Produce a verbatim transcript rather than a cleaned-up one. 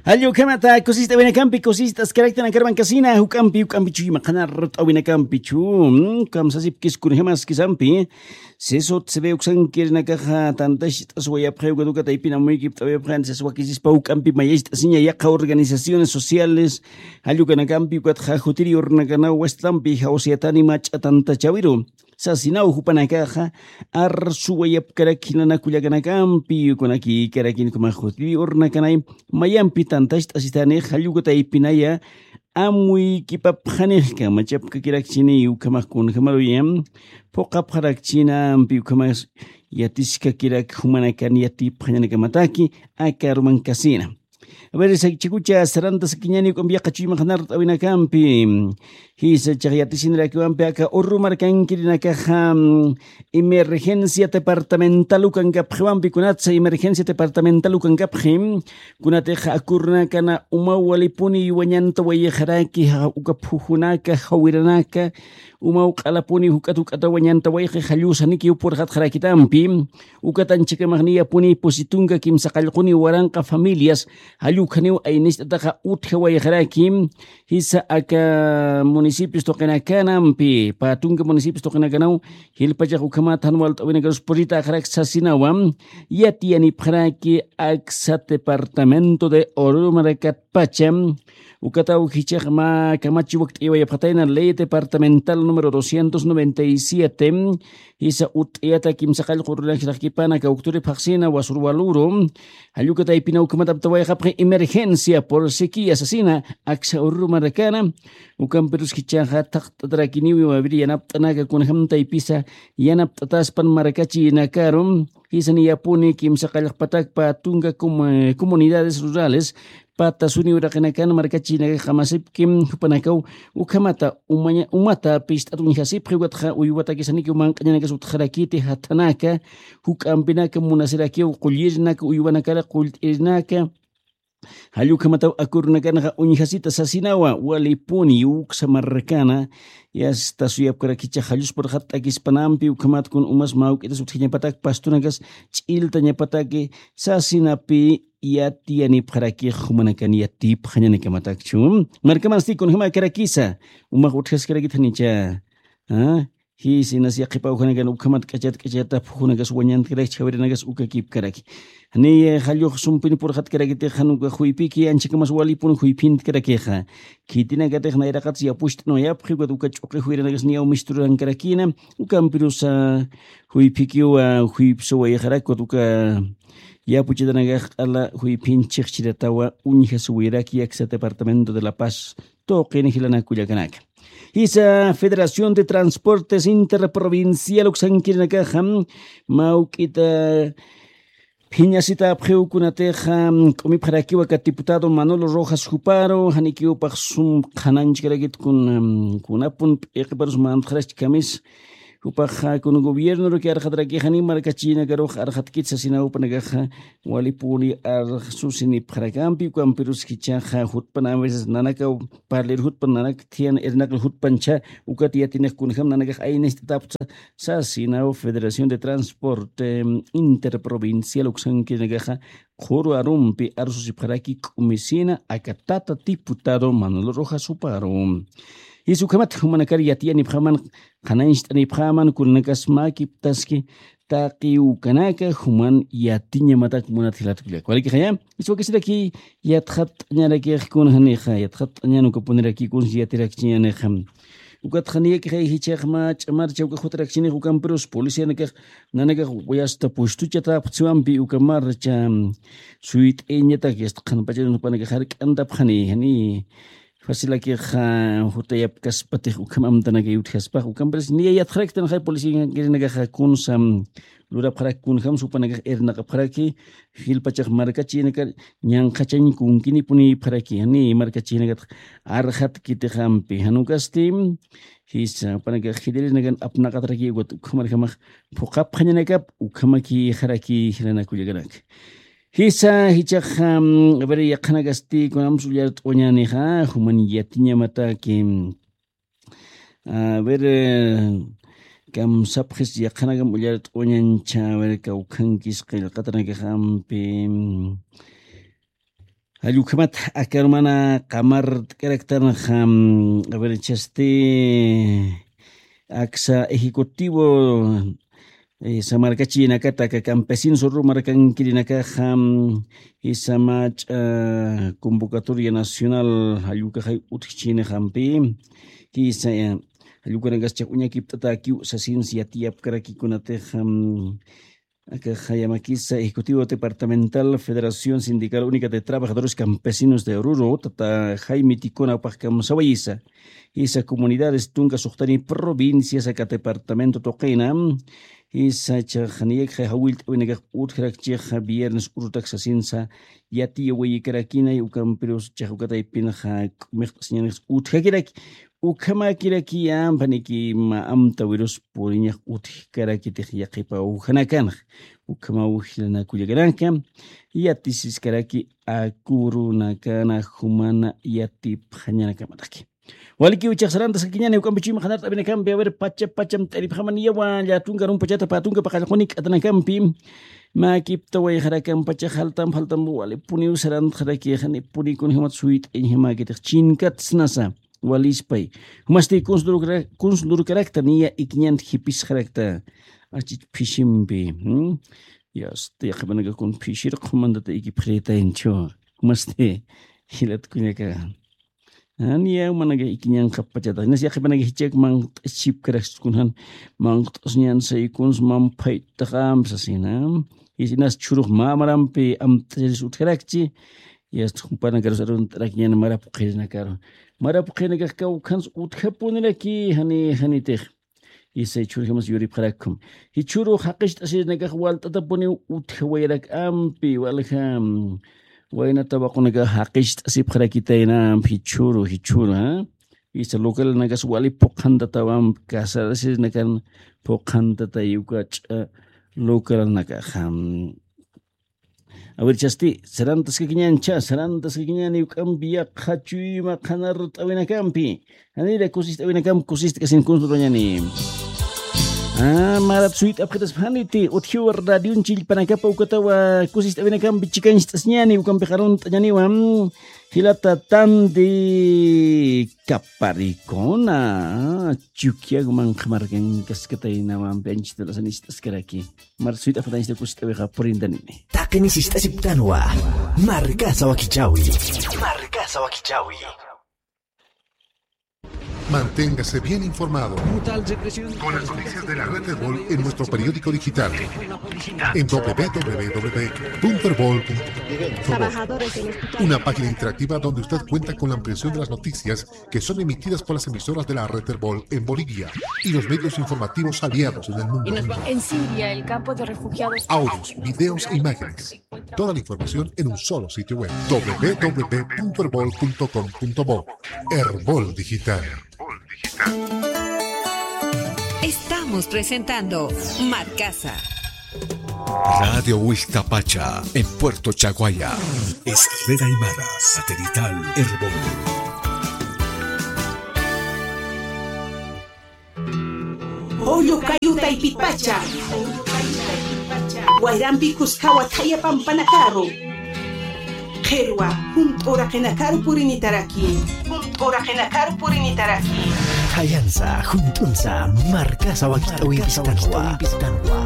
Jallukhamata kusist'awinakampi kusist'askaraktanakar mankasina juk'ampi juk'ampichu imaqanar t'awinakampichu. Kamsasipkis kunjamaskisampi sisut sibeuksankirinakaxa tantacht'aswayapxay ukatuka taypinamuykipt'awayapxay antisaswakisispa juk'ampi mayacht'asiña yaqa organizaciones sociales jallukanakampi ukatxa jutiri urnakanaw westlampi jawsiyatani mach'a tantachawiru sasinaw jupanakaxa arsuwayapkarak jinanakullakanakampi ukunakikarakin ukamax jutiri urnakanay mayampi tantacht'asitanix jallukataypinaya amuykipapxanix kamachapkakirakchini ukhamax kunjamaruya phuqhapxarakchinampi ukhamax yatiskakirak jumanakan yatipxañanakamataki aka arumankasina. A ver, chikucha saranta sakiñani uk'ampi yaqachuy maqanar t'awinakampi jisa chaq yatisinirakiwampi aka urru markankirinakaxa emergencia departamental ukankapxiwampi kunatsa emergencia departamental ukankapxi kunatix akurnakana umaw walipuni wañantawayixaraki uka phujunaka jawiranaka umaw q'alapuni juk'at juk'ataw wañantawayixi jallusaniki upurxatxarakitampi ukatanchikamaxniyapuni pusitunka kimsa qallquni waranqa familias jallukjaniw aynicht'ataxa utjawayixaraki jisa aka municipios tuqinakanampi patunka municipios tuqinakanaw jilpachax ukhamat jan walt'awinakarus puritäxarak sasinawa yatiyanipxaraki aksa departamento de oruro markatpacha ukataw jichax mä kamachi wakt'ayawayapxatayna ley departamental número doscientos noventa y siete jisa ut'ayata kimsa qallqu runaxrakipana kawkturi phaxsina wasurwaluru jallukataypina ukhamat aptawayxapxi emergencia por sequía sasina aksa ururu markana ukampirus jichaxa thaqt'atarakiniwi wawir yanapt'anaka kunjam taypisa yanapt'ataspan markachinakaru jisa niyapuni kimsa qallqpatakpa tunka comunidades rurales patasuni uraqinakan markachinakax qamasipki jupanakaw ukhamata umata pist'at uñjasipxi ukatxa uywatakisanikiw manq'añanakas utxarakiti jathanaka juk'ampinaka munasirakiw qullirinaka uywanakara qullt'irinaka jallukhamataw akürunakanxa uñjasita sasinawa walipuni uksa marrakana yasta suyapkarakicha jalluspurxat t'akispanampi ukhamat kun umas mä juk'itas utjañapatak pastunakas ch'illtañapataki sasinapi yatiyanipxarakix jumanakan yatipxañanakamatakchu markamansti kunjämakarakisa umax utjaskarakit janicha jisinas yaqhipawjanakan ukhamat k'achat k'achata phujunakas wañantkarakchi jawiranakas ukakipkaraki janiy jallux sumpin purxatkarakitix jan uka juypiki anchhakamas walipun juyphintkarakixa khitinakatix nayraqatsa yapucht'anwayapxi ukat uka ch'uqi juyranakas niyaw misturankarakina ukampirusa juyphikiwa juypsawayxarak ukat uka yapuchatanakax q'ala juyphin chhixchiratawa uñjasuwiraki aksa departamento de la paz tuqin jilanakullakanaka jisa federación de transportes interprovincial uksankirinakaxa mawk'ita phiñasitapxiw kunatixa k'umipxarakiw aka diputado manolo rojas juparu janikiw paxsum qhananchkarakit kunapun p'iqiparus mantxarachkamis jupaxa kun gobiernoruki arxatarakixani markachinakarux arxatkit sasinaw panakaxa walipuni arxsusinipxarakampi ukampirus jichaxa jutpan a veces nanakaw parlir jutpan nanak thiyan irnaql jutpancha ukat yatinix kunjam nanakax aynicht'ataptsa sasinaw federación de transporte interprovincial uksankirinakaxa qhuru arumpi arsusipxaraki k'umisina aka tata diputado manolo rojas juparu jisa ukhamat jumanakar yatiyanipxaman qhanañcht'anipxaman kunanakas mäkiptaski taqi ukanaka juman yatiñamatak munat jilatkullaka walikixaya jisa wakisiraki yatxatt'añarakix kun janixa yatxatt'añan ukapuniraki kuns yatirakchiñanixa ukatxa niyakixay jichhax mä ch'amarcha uka jutarakshinix ukampirus policianakax nanakax yasta pustuchatapxthiwampi uka marcha suyt'ayañatak yasta qhanpacharun jupanakax jark'antapxani jani facilakix jutayapkaspatix ukham amtanakay utjaspax ukampirus niya yatxaraktanxay policiankirinakaxa kunsa lurapxarak kunjam supanakax irnaqapxaraki jilpachax markachinakar ñanqhachañ kunkinipunipxaraki jani markachinakatx arxatkitixampi jan ukasti jisa jupanakax jilirinakan apnaqataraki ukat ukhamarjamax phuqhapxañanakap ukhamakixaraki jilanakullakanaka jisa jichax a ver yaqhanakasti kunamsa ullart'uwañänixa juman yatiñamataki a ver kamsapxis yaqhanakam ullart'uwañancha a ver kawkhankis qillqatanakaxampi Jall ukhamat aka arumana qamart'karaktanxa, mm, a ver, chasti, aksa ejecutivo, eh, samarkachinakata aka campesinos Oruro markankirinakaxa, mm, jisa mach'a convocatoria nacional jall ukaxay utjchinixampi, jisa, eh, jall ukanakas chaq uñakipt'atäkiw sasins yatiyapkarakikunatixa, mm, aka jayamakisa Ejecutivo Departamental Federación Sindical Única de Trabajadores Campesinos de Oruro, tata Jaime Ticona pajkam sawayisa. Jisa comunidades tunka suxtani provincias aka departamento tuqina. Jisa chax niyakxa jawillt'awinakax utjarakchixa viernes urutak sasinsa yatiyawayikarakina, ukampirus chax ukataypinxa k'umixt'asiñanix utjakiraki. Ukhamäkirakiya, ampaniki mä amtawirus puriñax utjkarakitix yaqhipa ujanakanax. Ukhamaw jilanakullakanaka, yatisiskaraki akurunakana jumana yatipxañanakamataki. Walikiw chax sarantaskakiñäni, uk'ampi chuyma qhanart'awinakampi, a ver, pacha pacham t'iripxaman yawa, llätunka arun pachata pä tunka paqallquni k'atanakampi, mäkiptawayxarakam pacha jaltam jaltam walipuniw sarantxaraki, janipunï kunjämat suyt'añjamäkitix chinkatsnasa. Walispay. Jumasti kuns lurkara-, kuns lurkarakta niya ikiñant jipisxarakta. Achich phishimpi. ¿Mm? Yasta, yaqhipanakax kun phishir qhumantata ikipxiritaynchu. Jumasti jilat kullaka. Jan niya jumanakax ikiñanxapachata. Jinas yaqhipanakax jichhak manqt'asipkarakchis kunjan. Manqt'asñansay kuns manphayt'axam sasina. Jinas chhurux mä marampi amt'acharis utjarakchi. Yasta, jumpanakarus arunt'arakiñäni mara phuqhirinakaru. Mara phuqhirinakax kawkhans utjapuniraki jani, janitix. Jisa jichhürjamas yuripxarakhum. Jichhüru jaqicht'asirinakax walt'atapuniw utjawayarak ampi, walja, mm, wayna tawaqunakax jaqicht'asipxarakitayna ampi jichhüru, jichhüru, ¿ah? Jisa localanakax wali phuqhantatawan, casarasirinakan phuqhantatay uka ch'a localanakax, mm, A ver, chasti, sarantaskakiñäni, chä, sarantaskakiñäni, uk'ampi yaqha chuyma qhanart'awinakampi. Janira kusist'awinakampi, kusist'kasin kuns lurañäni. Ah, marat suyt'apxitaspa janiti, utjiw radion chillpanakapa ukatawa kusist'awinakampi chikañcht'asiñäni, ukampi qarunt'añäniwa, mm, jilata Tandi Kaparikuna, Chukiyaw manqha markankaskataynawampi anchhita asanist'askaraki. Marat suyt'apxatanchita kusist'awixa purintanini. Taqini sist'asiptanwa. Markasa wakichawi. Markasa wakichawi. Manténgase bien informado con las noticias de la red Erbol en nuestro periódico digital en w w w punto erbol punto com. Una página interactiva donde usted cuenta con la ampliación de las noticias que son emitidas por las emisoras de la red Erbol en Bolivia y los medios informativos aliados en el mundo. En Siria, el campo de refugiados. Audios, videos e imágenes. Toda la información en un solo sitio web, w w w punto erbol punto com punto bo. Erbol Digital. Estamos presentando Markasa. Radio Huixtapacha, en Puerto Chaguaya. Es red aymara satelital Erbol. Julio Cayu Taypipacha. Wayrampi Cuscawa thaya pampanakaru. Qhirwa, junt'uraqinakaru purinitaraki. Junt'uraqinakaru purinitaraki. Thayansa, junt'unsa, Markasa wakich'awimpistanwa.